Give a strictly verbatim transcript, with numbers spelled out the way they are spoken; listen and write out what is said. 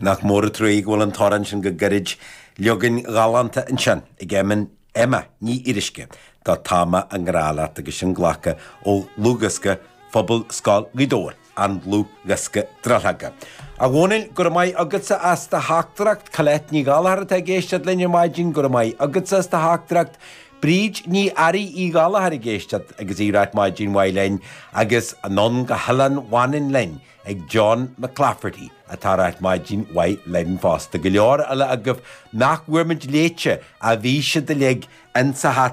Nach mór an truaigh go bhfuil an t-amhrán sin go gairid leagan galánta ansin ag Eamon Emma Ní Fhíoruisce do Tá mé i ngrá leat agus sin glactha ó dhlúthdhiosca Phobal Scoil Ghaoth Dobhair, an dlúthdhiosca Drithleoga. A Dhónaill, go raibh maith agatsa as do theachtaireacht, Colette Ní Ghallchóir atá ag éisteacht linn ar maidin, go raibh maith agatsa as do theachtaireacht, Bríd Ní Fhearraigh Uí Ghallchóir ag éisteacht agus í ag ráit maidin mhaith linn agus anonn go hOileán Mhanann linn ag John McClafferty atá ag ráit maidin mhaith linn fosta. Go leor eile agaibh nach bhfuair muid léite a bhí siad uilig insa hata